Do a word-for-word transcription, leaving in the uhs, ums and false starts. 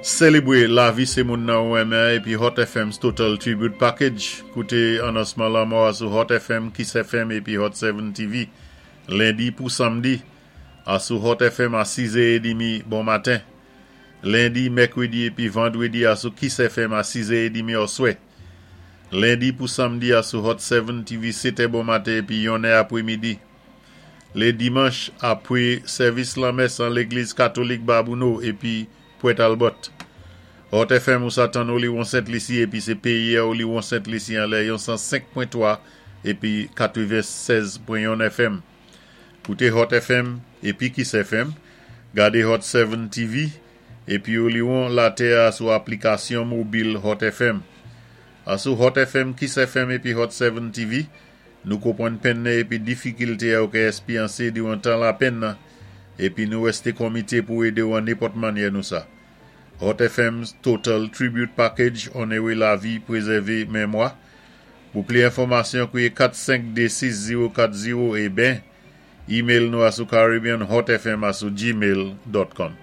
Sélébwé lavi sé moun nan ou renmen épi Hot F M's Total Tribute Package. Kouté anonsman lanmò a sou Hot F M, Kiss F M épi Hot sept T V. Lendi pou samdi, asou Hot F M a sis è trant bon maten. Lendi, mèkwédi épi vandwédi asou Kiss F M a sis è trant oswè. Lendi pou samdi asou Hot sept T V sèt bon maten épi yon è apwé midi. Lé dimanch apwé sèvis lanmès an légliz katolik Babouno épi Pwent Albert. Hot F M ou sa tann Oliwon Sent Lisi épi sé péyi Oliwon Sent Lisi anlè yon san senk pwen twa épi katwennsèz pwen yon F M. Kouté Hot F M épi Kiss F M, gadé Hot sept T V épi Oliwon latè sou aplikasyon mobil Hot F M. Asou Hot F M, Kiss F M épi Hot sept T V, nou konpwann penn épi difikilté ou ka èspéryansé diwan tan lapenn nan, épi nou wèsté komité pou édé ou an nenpòt mannyè nou sa. Hot F M's Total Tribute Package, onoré lavi, pwézèvé mémwa. Pou plis enfòmasyon, kouwé kat senk de sis zewo kat zewo é ben, email nou asou caribbeanhotfm asou gmail dot com.